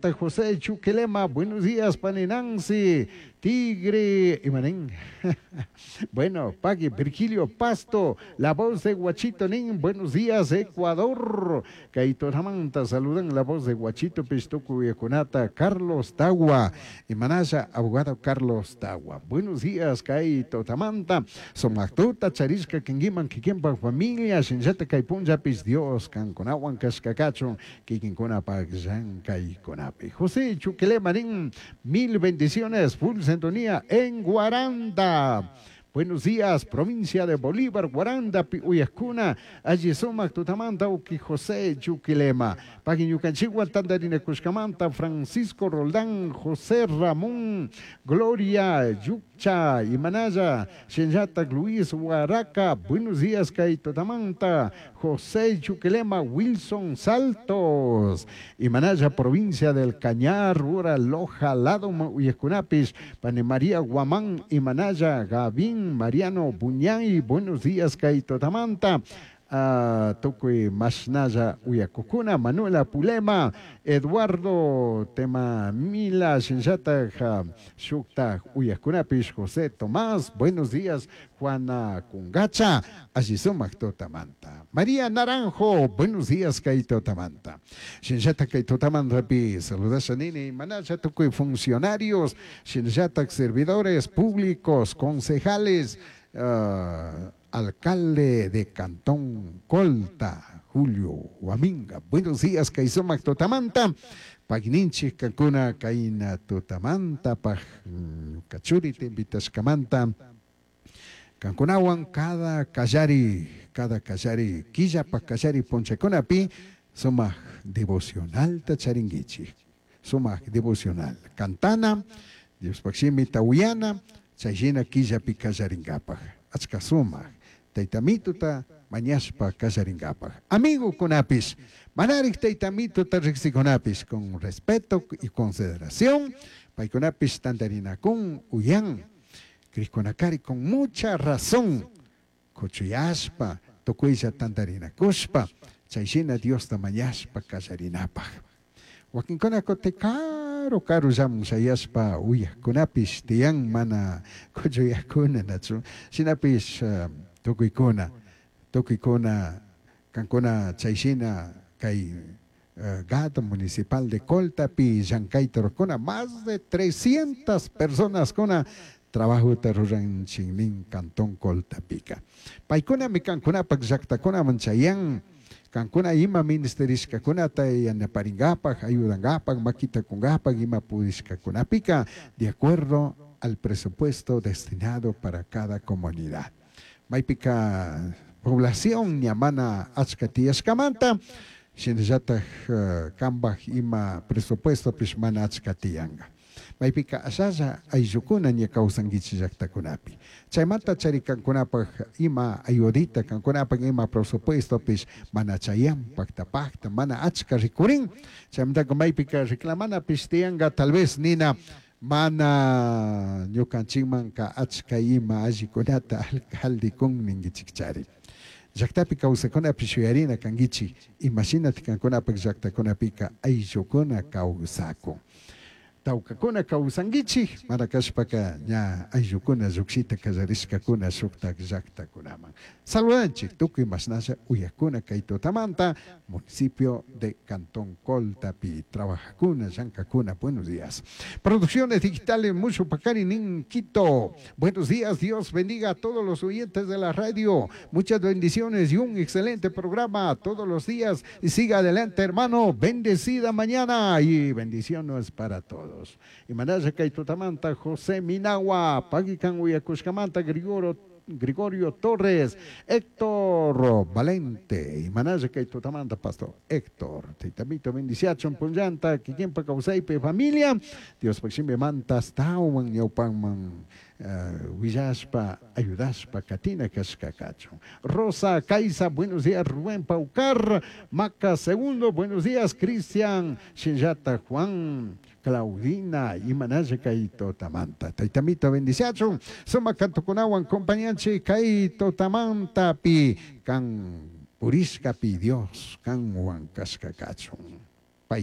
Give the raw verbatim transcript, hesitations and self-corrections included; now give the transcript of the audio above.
Shinllata José Chuquilema, buenos días, pani Nancy, Tigre, Imanín. Bueno, Pagui Virgilio Pasto, la voz de Guachito Nin, buenos días, Ecuador. Kaitoramanta, saludan la voz de Guachito Pistuku Yakunata, Carlos Tagua, Imanaya, abogado Carlos Tagua. Buenos días, Kaito Tamanta, Somactuta, Charishka, Kingiman, Kikimpa, familia, Shinjata, Kaipunjapis, Dios, Kankunawan, Kashkakachun, Kikinkuna, Pagjan, Kaikkunapi. José Chuquele Marín, mil bendiciones, full sintonía en Guaranda. Buenos días, provincia de Bolívar, Guaranda, Uyascuna, allí sumak tutamanta, uki José Chuquilema, Pagui ñukanchikwan tandarina kushkamanta, Francisco Roldán, José Ramón, Gloria Yucha, Imanaya, Shenyatak Luis Huaraca, buenos días, kay tutamanta, José Chuquilema, Wilson Saltos, Imanaya, provincia del Cañar, Ura, Loja, Lado, Uyascunapis, Pane María Guamán, Imanaya, Gavín, Mariano Buñay, buenos días, kay tutamanta. Uh, tukuy mashnalla uyakukuna, Manuela Pulema, Eduardo Tema Mila, Shinllata Shukta uyakunapish, José Tomás, buenos días, Juana Kungacha, allí sumak tutamanta. María Naranjo, buenos días, kay tutamanta. Shinllata kay tutamanta pi, saludasha nini, manacha tukuy funcionarios, shinllata servidores públicos, concejales, uh, alcalde de Cantón Colta, Julio Huaminga. Buenos días, kay sumak tutamanta. Pagninchik kankuna kayna tutamanta, paj kachuri te invitashkamanta. Kankunawan cada kallari, cada kallari, killapa kallari punchakunapi, sumak devocional ta charinguichik. Sumak devocional. Cantana, Dios shimi tawiyana, chayshina killapi kallaringapaj. Achka sumak. Taytamituta mañashpa kallaringapaj. Amigo kunapis, manarik taytamituta riqsikunapis, con respeto y consideración, paykunapis tantarinakun uyan, kriqkunakari con mucha razón, kuchuyashpa, tukuylla tantarinakushpa, chayshina Diosta mañashpa kallarinapaj. Wakinkuna kuti karu karu llamun shayashpa uyajkunapis tiyan mana kuchuyajkuna nachu, shinapish uh, tukuykuna, tukuykuna, kankuna chayshina kay uh, G A D municipal de Coltapi llankayta rurajkuna, más de trescientas personas kuna trabajota ruran chingnin Cantón Coltapika. Paykunami kankunapak llaktakunaman chayan, kankuna ima ministerishkakunata yanaparingapak, ayudangapak, makita kungapak, ima pudishkakunapika, de acuerdo al presupuesto destinado para cada comunidad. Maypika población ñamana achka tiyashkamanta, shinallatak uh, kambaj ima presupuesto pish mana achka tiyanga. Maypika ashalla ayllukuna ña kawsankichik llaktakunapi. Chaymanta chari kankunapaj ima ayudita, kankunapaj ima presupuesto pish mana chayan pakta pakta, mana achka rikurin. Chaymantaka maypika reclamana pish tiyanga tal vez nina mana ñukanchikmanka achka ima allikunata alcalde kun ninkichik chari. Llaktapi kawsakunapi shuyarina kankichik, imashinati kankunapak llaktakunapika ayllukuna kawsakun. Tawkakuna kawsankichik, mana kashpaka ña ayllukuna llukshita kallarishkakuna shuktak llaktakunaman. Saludanchik tukuy mashnalla uyakuna kay tutamanta, municipio de Cantón Coltapi, trabajakuna, llankakuna, buenos días. Producciones digitales Mushu Pacari nin Quito. Buenos días, Dios bendiga a todos los oyentes de la radio. Muchas bendiciones y un excelente programa todos los días. Y siga adelante, hermano. Bendecida mañana y bendiciones para todos. Y manaya kay tutamanta José Minagua, Pagikan uyakushkamanta Gregorio, Gregorio Torres, Héctor Valente, y manaya kay tutamanta Pastor Héctor, taytamito bendiciachon punllanta, kikinpa kawsaypi familia, Dios pakshimbi mantas tawan ñawpanman, uh, willashpa, ayudashpa, katina kashkakachun. Rosa Caiza, buenos días, Rubén Paucar, Maca Segundo, buenos días, Cristian, Shinjata Juan, Claudina, Imanaya kay tutamanta. Taytamito bendiciachun, suma kantukunawan compañanchi kay tutamanta pi kan purishkapi Dios kanwan kashkakachun.